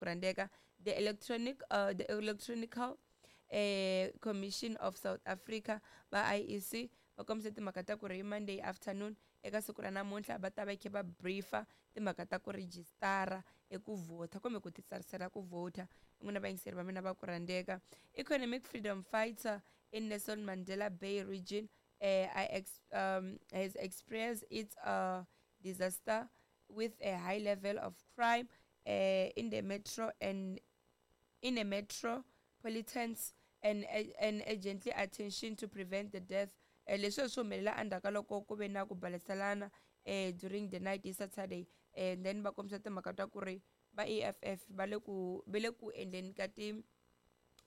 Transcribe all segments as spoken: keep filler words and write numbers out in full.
rhandzeka the electronic uh, the electronical eh, Commission of South Africa va I E C va kombise timhaka ta ku ri hi Monday afternoon, eka siku ra namuntlha, va ta va khe va briefa timhaka ta ku rejistara eku vhota kumbe ku titsarisela ku vhota. N'wina vayingiseri va mina va ku rhandzeka, Economic Freedom Fighter in Nelson Mandela Bay region eh, I ex, um, has expressed its uh, disaster with a high level of crime uh, in the metro and in the metropolitans and, and urgently attention to prevent the death. eh, leswi swi humelela endzhaku ka loko ku ve na ku baleselana eh, during the night hi Saturday, and then va kombisa timhaka ta ku ri va E F F va le ku va le ku endleni ka ti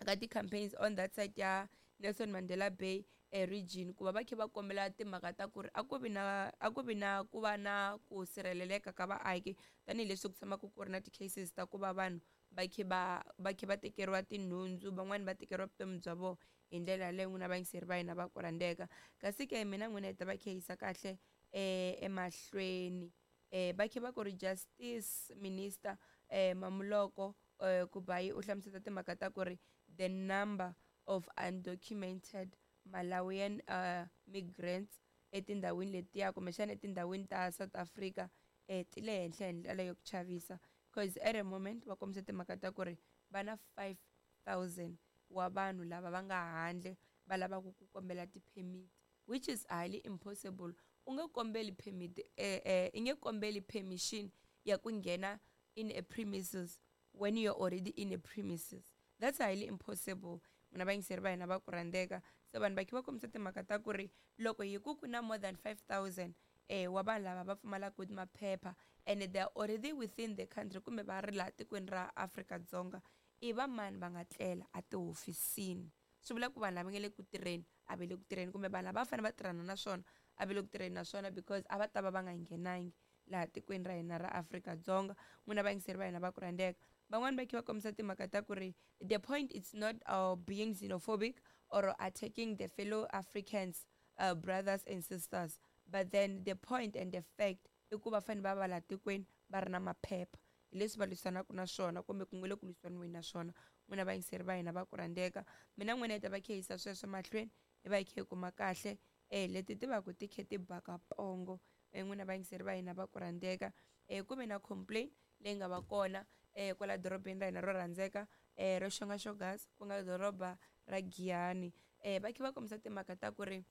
ka ti-campaigns on that side ya Nelson Mandela Bay eh, region, ku va va kha va kombela timhaka ta ku ri a ku vi na a ku vi na ku va na ku sirheleleka ka vaaki, tanihileswi ku tshamaka ku ri na ti-cases ta ku va vanhu va kha va va kha va tekeriwa tinhundzu, van'wani va tekeriwa vutomi bya vona hi ndlela yaleyo. N'wina vayingiseri va hina va ku rhandzeka, kasi ke mina n'wina hi ta va kha yisa kahle eh, emahlweni. eh, va kha va ku ri Justice Minister eh, Mamoloko eh, Kubayi u hlamusela timhaka ta ku ri the number of undocumented Malawian uh, migrants etindhawini letiya kumbexana etindhawini ta South Africa eh, ti le henhla hi ndlela yo ku chavisa, because at a moment va kombisa timhaka ta ku ri va na five thousand wa vanhu lava va nga handle va lavaka ku kombela ti-permit, which is highly impossible. U nge kombeli permit, eh, eh, i nge kombeli permission ya ku nghena in a premises when you're already in a premises. That's highly impossible, mina vayingiseri va hina va ku rhandzeka. Se vanhu va kha va kombisa timhaka ta ku ri loko hi ku ku na more than five thousand eh wa vanhu lava va pfumalaka maphepha and they are already within the country kumbe va ri laha tikweni ra Afrika-Dzonga, i va mani va nga tlela a tihofisini? Swi vula ku vanhu lava nga le ku tirheni a va le ku tirheni, kumbe vanhu lava va fanele va tirhana na swona a va le ku tirheni na swona, because a va ta va va nga nghenangi laha tikweni ra hina ra Afrika-Dzonga. N'wina vayingiseri va hina va ku rhandzeka, van'wani va kha va kombisa timhaka ta ku ri the point is not uh, being xenophobic or attacking the fellow Africans, uh, brothers and sisters, but then the point and the fact i ku va fanele va va laha tikweni va ri na maphepha. Hi leswi va lwisanaka na swona kumbe ku nga le ku lwisaniweni na swona, n'wina vayingiseri va hina va ku rhandzeka. Mina n'wina hi ta va kha yisa sweswo mahlweni, hi va hi kha hi kuma kahle um leti ti va ku ti kha ti baka pongo. um n'wina vayingiseri va hina va ku rhandzeka, um ku ve na complaint leyi nga va kona um kwala dorobeni ra hina ro rhandzeka um ro xonga xogas, ku nga doroba ra Giyani. um va kha va kombisa timhaka ta ku ri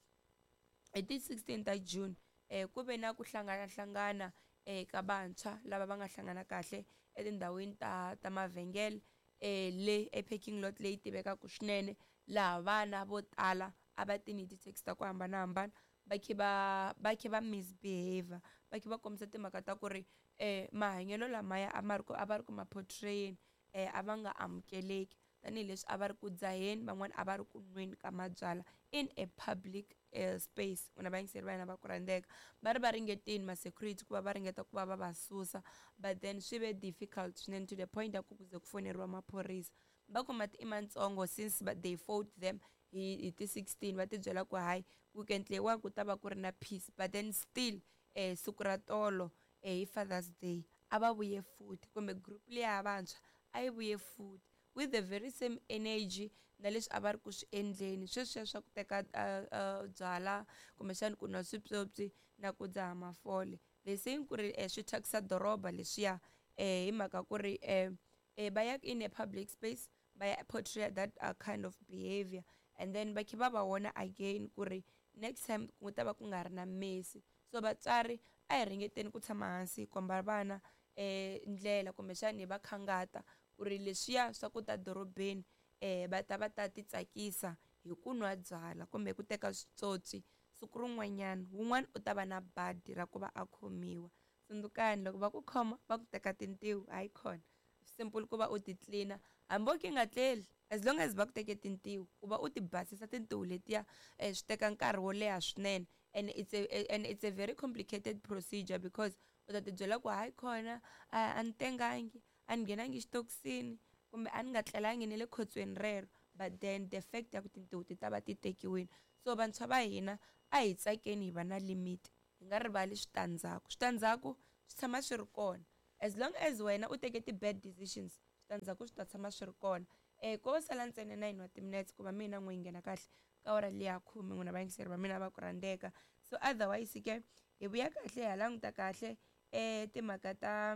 hi ti sixteen ta June um ku ve na ku hlanganahlangana um ka vantshwa lava va nga hlangana kahle etindhawini ta ta mavhengele um le e-parking lot leyi tivekaka swinene, laha vana vo tala a va tini hi ti-taxi ta ku hambanahambana, va kha va va kha va misbehave, va kha va kombisa timhaka ta ku ri um mahanyelo lamaya a ma ri ku a va ri ku ma portrayeni um a va nga amukeleki, tanihileswi a va ri ku dzaheni, van'wani a va ri ku nweni ka mabyalwa in a public uh, space. N'wina vayingiseri va hina va ku rhandzeka, va ri va ringetini ma-security ku va va ringeta ku va va va susa, but then swi ve difficult swinene to the point ya ku ku ze ku foneriwa maphorisa. Va ku mati i matsongo since they fought them hi hi ti sixteen, va ti byela ku hayi, weekend leyiwani ku ta va ku ri na peace, but then still eh siku ra tolo eh hi Father's Day a va vuye futhi, kumbe group liya ya vantshwa a yi vuye futhi with the very same energy na leswi a va ri ku swi endleni sweswiya swa ku teka uh, uh, byala kumbexani ku nwa swipyopyi na ku dzaha mafole. They saying ku ri eh, swi thyakisa doroba leswiya eh hi mhaka ku ri eh, eh va ya in a public space va ya portray that uh, kind of behavior, and then va kha va va vona again ku ri next time ku ta va ku nga ri na mesi. So vatswari a hi ringeteni ku tshama hansi hi komba vana eh ndlela kumbexani hi va khangata ku ri leswiya swa ku ta dorobeni eh va ta va ta ti tsakisa hi ku nwa byala kumbe ku teka switsotsi, siku rin'wanyana wun'wana u ta va na badi ra ku va a khomiwa. Tsundzukani, loko va ku khoma va ku teka tintiho, hayi khona simple ku va u ti tlilina hambi o ki nga tleli, as long as va ku teke tintiho, ku va u ti basisa tintiho letiya um swi teka nkarhi wo leha swinene, and it's a, and it's a very complicated procedure, because u ta ti byela ku hayi khona a ni tengangi, a ni nghenangi xitokisini, kumbe a ni nga tlelangi ni le khotsweni rero, but then the fact ya ku tintiho ti ta va ti tekiwile. So vantshwa va hina, a hi tsakeni, hi va na limit, hi nga rivali switandzhaku. Switandzhaku swi tshama swi ri kona as long as wena u teke ti-bad decisions. Swi Switandzhaku swi ta tshama swi ri kona. um ko va sala ntsena nine wa timinetse ku va mina n'we yi nghena kahle ka awara liya khume, n'wina vayingiseri va mina va ku rhandzeka. So otherwise ke hi vuya kahle ha languta kahle um timhaka ta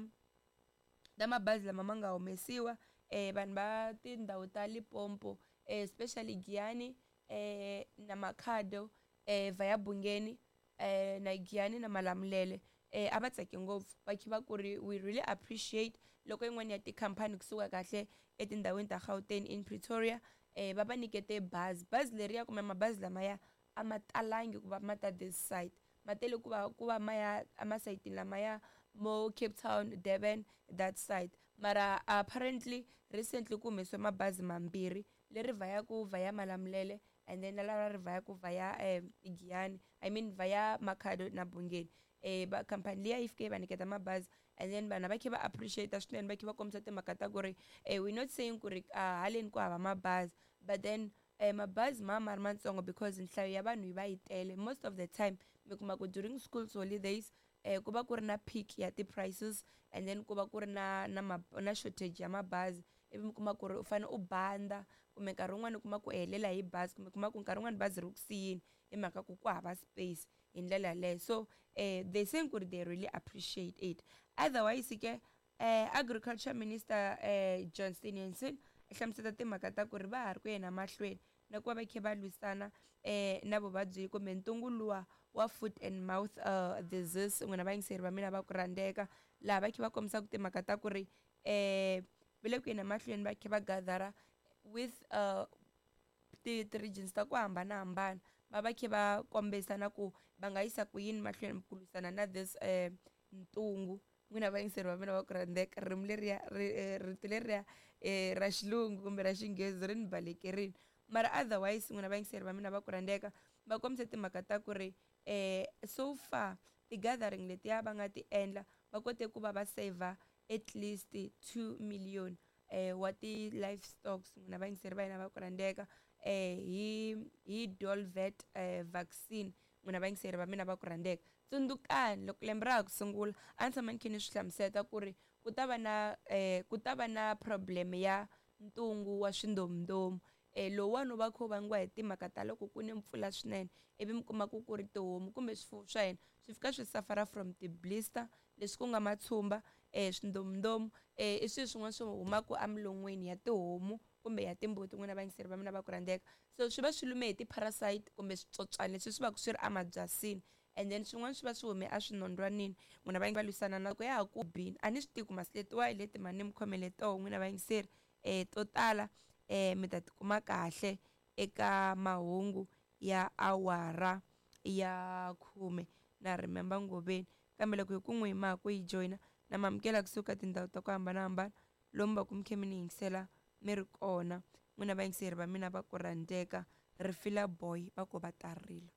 ta mabazi lama ma nga humesiwa um vanhu va tindhawu ta Limpopo, especially Giyani um na Makhado, um via Bungeni, um na Giyani na Malamulele, um a va tsake ngopfu va kha va ku ri we really appreciate loko yin'wana ya tikhampani kusuka kahle etindhawini ta Gauteng in Pretoria um va va nyikete bazi. Bazi leriya kumbe mabazi lamaya a ma talangi ku va ma ta this side, ma tele ku va ku va ma ya emasayitini lamaya mo Cape Town, Durban that side. Mara apparently recently ku humesiwe mabazi mambirhi, leri vhayaku vhaya Malamulele and then na lava ri vhayaku vhaya um Giyani, I mean vhaya Makhado na Bungeni. um va khampani liya yi fike yi va nyiketa mabazi and then vanhu va kha va appreciate swinene, va kha va kombisa timhaka ta ku ri um we not saying ku ri haleni ku hava mabazi, but then um mabazi ma ma ri matsongo because nhlayo ya vanhu yi va yi tele. Most of the time mi kuma ku during school holidays um ku va ku ri na peak ya ti-prices and then ku va ku ri na na na shortage ya mabazi, ivi mi kuma ku ri u fanele u banda kumbe nkarhi wun'wani u kuma ku helela hi bazi, kumbe kuma ku nkarhi wun'wani bazi ri ku siyini hi mhaka ku ku hava space hi ndlela yaleyo. So um they saying ku ri they really appreciate it. Otherwise ke um agriculture minister um John Steenhuisen hlamusela timhaka ta ku ri va ha ri ku yena mahlweni na ku va va kha va lwisana um na vuvabyi kumbe ntungu luwa wa foot and mouth uh, disease, n'wina vayingiseri va mina va ku rhandzeka, laha va kha va kombisaka timhaka ta ku ri um va le ku yeni mahlweni va kha va gathera with uh, ti-regions ta ku hambanahambana, va va kha va kombisa na ku va nga yisa ku yini mahlweni ku lwisana na this um ntungu. N'wina vayingiseri va mina va ku rhandzeka, ririmi leriya rito leriya um ra xilungu kumbe ra xinghezi ri ni balekerini, mara otherwise n'wina vayingiseri va mina va ku rhandzeka, va kombise timhaka ta ku ri um so far ti-gathering letiya va nga ti endla va kote ku va va saver at least two million um wa ti-livestocks, n'wina vayingiseri va hina va ku rhandzeka, um hi hi Dolvet um vaccine, n'wina vayingiseri va mina va ku rhandzeka. Tsundzukani loko lembe ra ha ku sungula a ni tshama ni kha ni swi hlamusela ku ri ku ta va na um ku ta va na problem ya ntungu wa swindomundomu, um lowuwani wu va kha wu vangiwa hi timhaka ta loko ku ne mpfula swinene, ivi mi kuma ku ku ri tihomu kumbe swifuwo swa hina swi fika swi suffer from ti-blister, leswi ku nga matshumba, um swindomundomu, um i swilo swin'wana swi humaka emilon'weni ya tihomu kumbe ya timbuti, n'wina vayingiseri va mina va ku rhandzeka. So swi va swi lume hi ti-parasite kumbe switsotswana leswi swi va swi ri emabyasini, and then swin'wana swi va swi hume eswinondwanini, n'wina va va lwisana na ku ya ha ku bini. A ni swi tivi ku masi letiwa hi leti mhani ni mi khomele toho n'wina vayingiseri, um to tala um mi ta tikuma kahle eka mahungu ya awara ya khume na remember ngoveni, kambe loko hi ku n'wi ma ha ku yi joyina na mi amukela kusuka tindhawu ta ku hambanahambana lomu va ku mi kha mi ni yingisela mi ri kona, n'wina vayingiseri va mina va ku rhandzeka. Rifila boy va ku va ta rila.